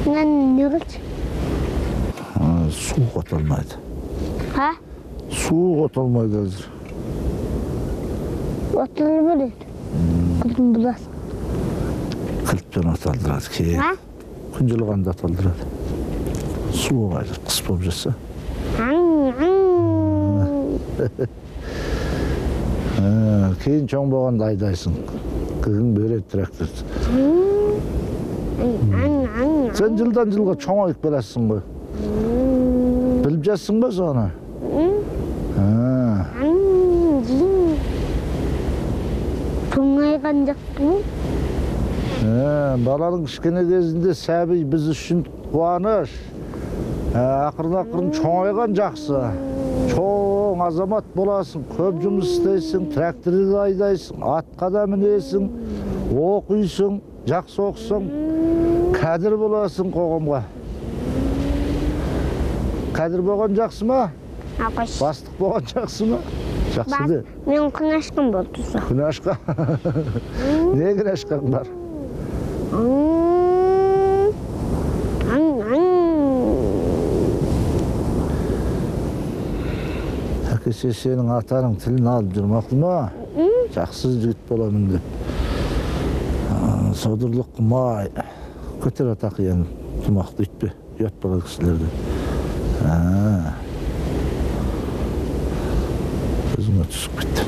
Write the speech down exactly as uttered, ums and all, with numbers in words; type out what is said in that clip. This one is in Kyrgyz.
Мен не кылчу? Суу котолмойт. Ha? Суу котолмойт азыр. Отылыр берет. Кылдым булас. Кылтпен оталдырат ки. Ha? Күн жылганда оталдырат. Суу кайрып кыс болуп жатса. Кейін чоң болгондо айдайсың. Кызың берет трактор. Сен жылдан жылга чоңоюп келесиң го. Билип жатсың ба сону? Чоңайган жакпы? Баланын кичкене кезинде сәби биз үчүн кубаныч. Акырын-акырын чоңайган жаксы. Чоң азамат боласың, көп жумуш истейсиң, тракторду айдайсың, атка да минесиң, окуйсуң, жакшы окусоң, кадыр боласың когомго. Кадыр болгон жаксымы? Акыш. Бастык болгон жаксымы? Жакшы де. Мен күнашкан болдусу. Күнашка? Не күнашкаң бар? Әкесе сенің атаның тілін алып жүрмақлыма, жақсы жігіт боламын деп. Содырлық қымай, көтер атақ ең тұмақты үйтпе, ұят болады кісілерді. Көзіңе түсіп кетті.